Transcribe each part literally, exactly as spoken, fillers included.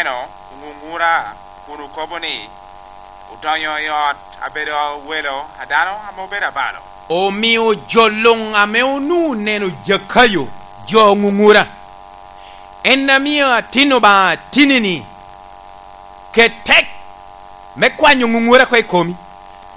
Eno, oŋuŋura, kun okobo ni, "Odonyo i ot abedo welo a dano ame obedo abalo." Omio jo luŋ ame onwoŋo oneno Jakayo, jo oŋuŋura. En amio atin Obaŋa tinni-ni, ket tek me kwanyo ŋuŋura oko i komi,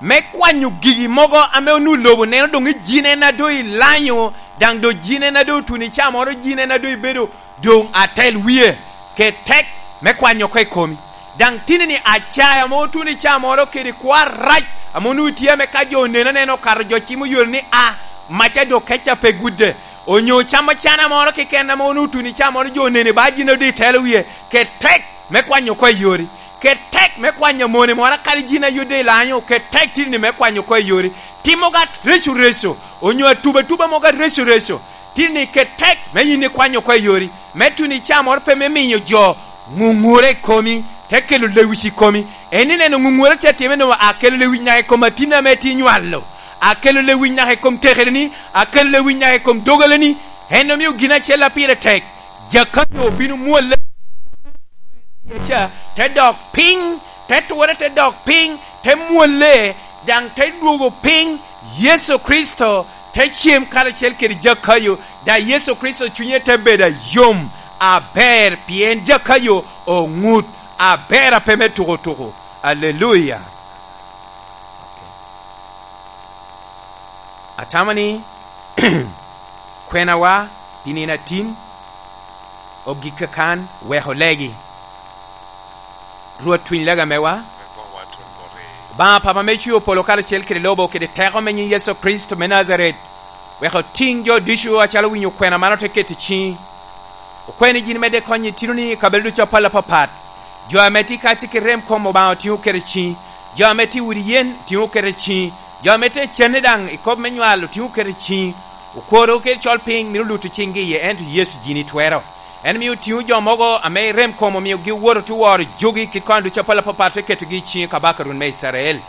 me kwanyo gigi mogo ame onwoŋo lobo neno doŋ i jin en a doŋ ilanyo, daŋ doŋ jin en a doŋ otuno i ca moro, jin en a doŋ ibedo doŋ atel wie. Ket tek me kwanyo oko i komi. Daŋ tinni-ni acaya ame otuno i ca moro kede kwo arac ame onwoŋo tye ame ka jo oneno anena okato jo cimo yore ni, "A, maca doŋ keca pe gudde." Onyo camo cana moro keken ame onwoŋo otuno i ca moro jo onene ba jin odi i telo wie. Ket tek me kwanyo oko i yori. Ket tek me kwanyo mone moro akadi jin a yodde i lanyo. Ket tek tinni me kwanyo oko i yori. Timo ga reco reco, onyo atuba atuba mogo areco reco. Tinni ket tek me yin ikwanyo oko i yori. Me tuno i ca moro pe me miyo jo ŋuŋura i komi, te kelo lewic i komi. En ineno ŋuŋura tye atime no, akelo lewic naka i kom atin ame tye nywalo. Akelo lewic naka i kom tekereni, akelo lewic naka i kom dogaleni. En omio gin acel a pire tek, Jakayo obino mwolle ca, te dok piny, te ture, te dok piny, te mwolle, daŋ te dwogo piny. Yecu Kricito te cem karacel kede Jakayo, daŋ Yecu Kricito cunye te bedo ayom aber, pien Jakayo oŋut aber a pe me tuko tuko. Aleluya! Atamo ni kwenawa pi nino atin ogik kakan, wek olegi. Rwot, tuny lega mewa. Obaŋa Papa me cwio polo karacel kede lobo, kede teko me nyin Yecu Kricito me Najaret, wek otiŋ jo ducu acalo owinyo kwena man ote keto i ciŋi. Okwai ni yin imedde konyo itinoni i kabedo ducu apol apapat. Jo ame tye kacce kede rem kom, Obaŋa, otiŋo keto i ciŋi. Jo ame tye i udi yen, otiŋo keto i ciŋi. Jo ame tye i cene daŋ i kop me nywal, otiŋo keto i ciŋi. Okworo kede col piny mito luto ciŋgi iye, ento Yecu yin itwero. En mio otiŋo jo mogo ame i rem kom omio giwoto te woro jogi kit kony ducu apol apapat, te ketogi i ciŋi, Kabaka Rwot me Icrael.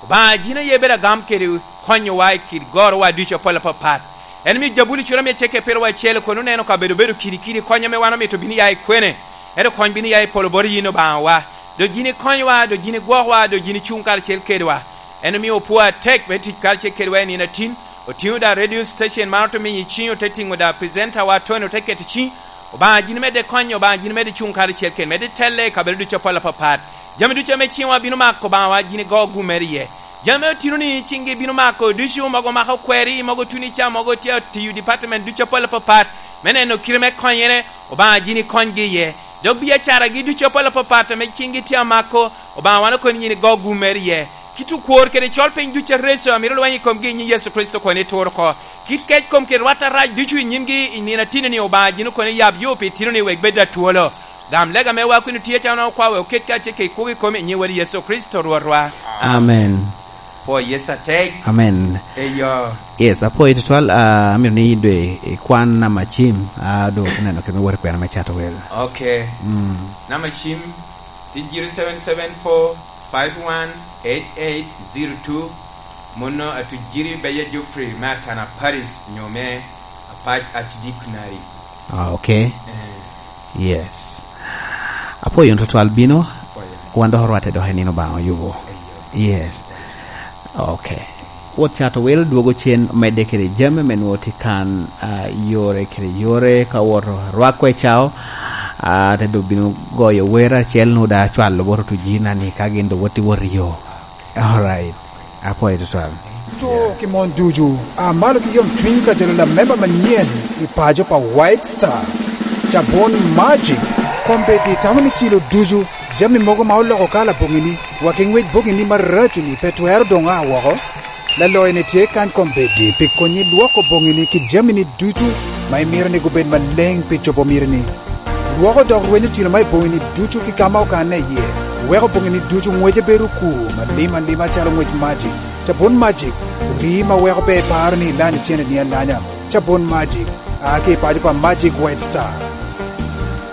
Obaŋa, yin aye bedo agam kede konyowa i kit gorowa ducu apol apapat. En mio Jabuli cura mia acel kede pyeraryo acel kono oneno kabedo obedo kidi kidi, kony ame wan omito bino ya i kwene, ento kony bino ya i polo bot yin Obaŋawa. Dok yin ikonyowa, dok yin igwokwa, dok yin icuŋ karacel kedwa. En omio opwoo atek me tic karacel kedwa i nino atin. Otiŋo daŋ radio station man, ote miyo i ciŋe, ote tiŋo daŋ presentawa Tony, ote keto i ciŋi. Obaŋa, yin imedde konye, Obaŋa, yin imedde cuŋ karacel kede, medde telle i kabedo ducu apol apapat. Jami ducu ame ciŋwa bino mako, Obaŋawa, yin igo gumere iye. Jami ame otinoni ciŋgi bino mako ducu, mogo mako kweri, mogo tuno i ca, mogo tye tiyo department ducu apol apapat me neno kite me konyere, Obaŋa, yin ikonygi iye. Dok biacaragi ducu apol apapat ame ciŋgi tye amako, Obaŋa, wan okono yin igo gumere iye. Kit okwor kede col piny ducu areco amito lweny i komgi i nyiŋ Yecu Kricito kono itur oko. Kit kec kom kede rwat arac ducu i nyimgi i nino atinni, Obaŋa, yin okono iyab yo pi itinoni wek bed atwolo. Gam lega mewa kun otye acalo okwa wek oket kacel kede kwogo i komi i nyiŋ Wod Yecu Kricito Rwotwa. Amen. Pwo Yecu atek. Amen. Eyo. Yes, apwoyo tutwal, ah, amito ni dwe ikwan namba cim, ah, dwe ote neno kede me wot i kwena me cato wel. Okay. Mm. Namba cim, tye zero seven seven four five one eight eight zero two, muno atuc Jiri Beja Jofrey me Atana Paris, nyo me Apac Archdeaconry. Ah, okay. Eh. Yes. Apwoyo tutwal bino, apwoyo. Wan dok orwatte dok i nino Obaŋa oyubo. Eyo. Yes. Okay. Wot cato wel dwogo cen medde kede jami me nwoŋo tye kan, ah, yore kede yore ka woto rwak kwe cao, ah, te doŋ bino goyo wer acel nwoŋo daŋ acwalo bot otuc Jina ni ka gin doŋ wot i wot i yo. Alright. Apwoyo tutwal. To ki mon ducu, a malo ki yom cwiny ka jalo lamemba manyen i paco pa White Star, cabun Magic, kombeddi tamo ni cilo ducu, jami mogo ma oloko kala boŋini, wa ki ŋwec boŋini maraco-ni pe twero doŋ a woko. Laloyo-ni tye kany kombeddi pi konyi lwoko boŋini ki jamini ducu ma imito ni gubed maleŋ pi cobo mitini. Lwoko dok rwenyo cilo ma i boŋini ducu ki ka ma okanne iye, weko boŋini ducu ŋwece bedo okur malim alima calo ŋwec Magic. Cabun Magic, rii ma weko pe iparo ni ilanyo cene-ni alanya. Cabun Magic, a ki i paco pa Magic White Star.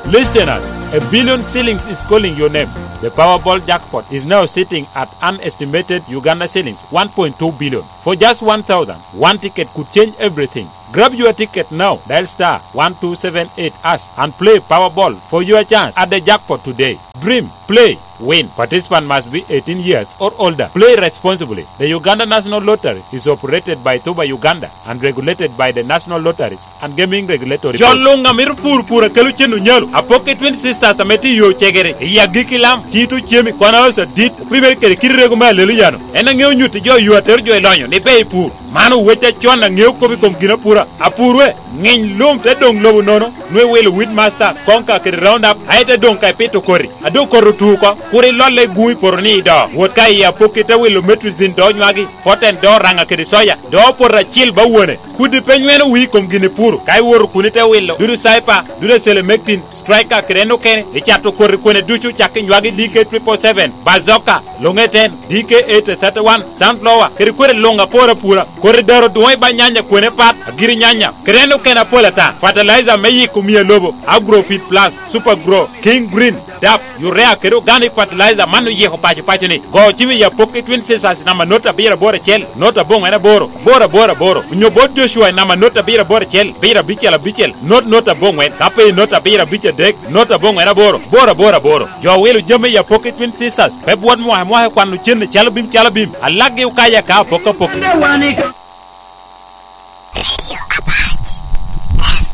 Listeners, a billion shillings is calling your name. The Powerball jackpot is now sitting at an estimated Uganda shillings one point two billion. For just one thousand, one ticket could change everything. Grab your ticket now. Dial star one two seven eight hash and play Powerball for your chance at the jackpot today. Dream, play, win. Participant must be eighteen years or older. Play responsibly. The Uganda National Lottery is operated by Tuba Uganda and regulated by the National Lotteries and Gaming Regulatory Board. Jo luŋ a mito pur, pur a kelo cen onyalo. Apok i Twin Sisters ame tye i yo cegere, i agikki lam, cito cemi, kwana oca dit, opimere kede kit rego me alelo yano. En aŋeo nyutti jo yo atero jo i lonyo ni pe i pur. Man owec acon aŋeo kop i kom ginapura. Apur we, ŋiny lum te doŋ lobo nono, nwe wilo Weedmaster, Konka kede Roundup, aye te doŋ ka ipito koti. A doŋ koti otu oko, kur ilolle i guŋ i poto ni i do. Wot ka i apokki te wilo Metrizin do nywagi, Poten do raŋa kede soya, do poto acil ba wone. Kudi pe nyweno wii i kom gin ipuro, ka iwoto kun ite wilo, dudu Cyper, dudu Selemectin, Striker kede en okene, icato koti kwene ducu cak i nywagi D K triple seven, Bazooka, Longeten, D K eight thirty-one, Sunflower, kede kwene luŋ apor apura, koti daro duŋ i ba nyanya kwene pat, agiri nyanya, kede en okene apol ata, fertilizer me yiko mia lobo, Agrofit Plus, Super Grow, King Green, dap, urea kede organic fertilizer man oyiko paco paco ni. Go cim i apokki Twin Sisters namba not abiro aboro acel, not aboŋwen aboro, aboro aboro aboro. Onyo bot Joshua i namba not abiro aboro acel, abiro abicel abicel, not not aboŋwen. Ka pe i not abiro abic adek, not aboŋwen aboro, aboro aboro aboro. Jo wilo jami i apokki Twin Sisters, pe bwot mwaka mwaka kwano cen i calo bim calo bim. Alakgi okaya ka apok apok. Radio Apache F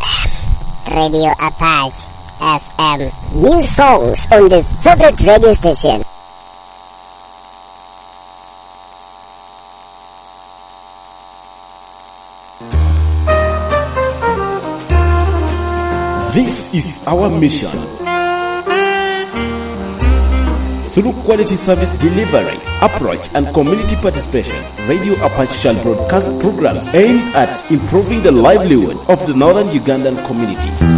M. Radio Apache F M. New songs on the favorite radio station. This is our mission. Through quality service delivery, approach, and community participation, Radio Apache shall broadcast programs aimed at improving the livelihood of the northern Ugandan communities.